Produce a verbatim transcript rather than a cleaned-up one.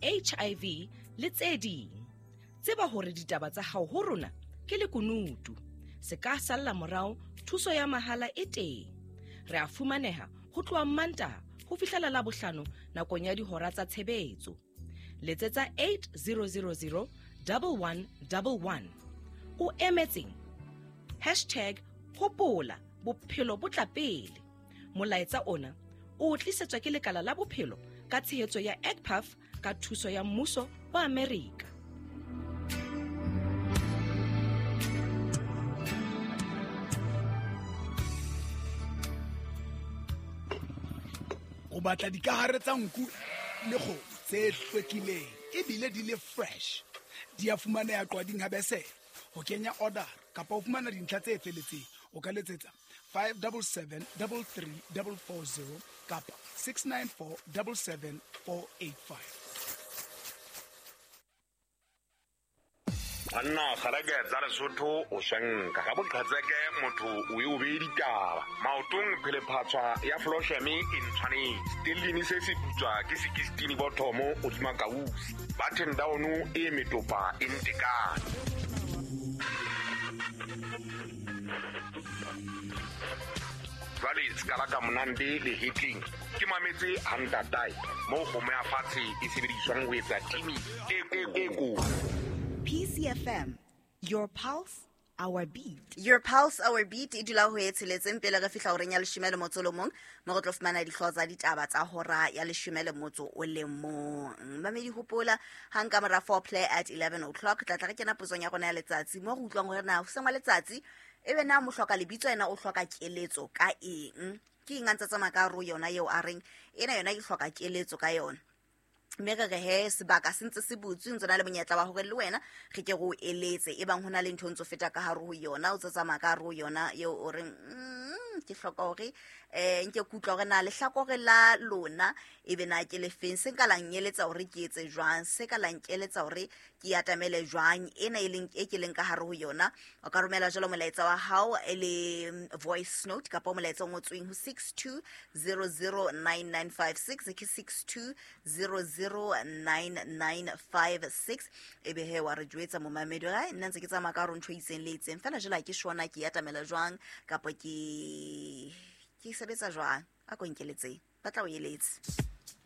H I V le tse ding. Tseba hore ditaba tsa hao ho rona ke lekunutu. Se ka salla morao, thuso ya mahala e teng. Re a fumaneha ho tloha Mantaha ho fihlela Labohlano nakong ya dihora tsa tshebetso. Letsetsa eight zero zero zero double one double one. O emetseng? Hashtag hopola bophelo bo tla pele. Molaetsa ona o tlisetswa ke lekala la bophelo ka tshehetso ya E C P A F ka thuso ya mmuso wa Amerika. O batla dikahare tsa nku le kgomo tse hlwekileng ebile di le fresh. Di a fumaneha Qwading ha Besele. Ho kenya order kapa ho fumana dintlha tse felletseng o ka letsetsa five double seven double three double four zero kapa six nine four double seven four eight five. Banna kgalake tsa Lesotho o shanka ga boqhetseke motho o e o beye ditaba. Maotong phelephatswa ya Flosheme e ntshwanetse. Stellini se se putswa ke sixteen bothomo hodima kausi. Button down e metopa e ntekane. Jwale ska la ka monande le hitling. Ke mametse hantatae mo kgomo ya fatshe e sebediswang ho etsa timi e e ko. P C F M, your pulse, our beat. Your pulse, our beat. E dula ho e tsheletseng pele re fihla horeng ya leshome le motso o le mong, mo re tlo fumana dihlooho tsa ditaba tsa hora ya leshome le motso o le mong. Mamedi hopola hang ka mora four play at eleven o'clock tla tla re kena potsong ya rona ya letsatsi mo re utlwang hore na hoseng wa letsatsi ebe na mo hloka lebitso ena o hloka keletso ka eng. Ke eng a ntse tsamaya ka ro yona eo a reng ena yona ke hloka keletso ka yona. Mme re re he sebaka se ntse se butswe ntse na le monyetla wa hore le wena re ke re o eletse e bang hona le ntho ntso feta ka hare ho yona o tse tsamaya ka hare ho yona eo o reng mm, ke hloka hore eh nke ke utlwa hore na lehlakore la lona e be na ke le feng se nka la nkeletsa hore ke etse jwang se ka la nkeletsa hore ke atamele jwang ena e leng e ke leng ka hare ho yona. O ka romela jalo molaetsa wa hao e le voice note kapa molaetsa o ngotsweng ho six two zero zero nine nine five six ke six two zero zero nine nine five six. Ebe he wa re jwetsa momamedi ga nna ntse ke tsamaya ka hore ntho e itseng le itseng fela jela ke shona ke atamela jwang kapa ke ke sebetsa jwang a ko nkeletseng ba tla o eletse.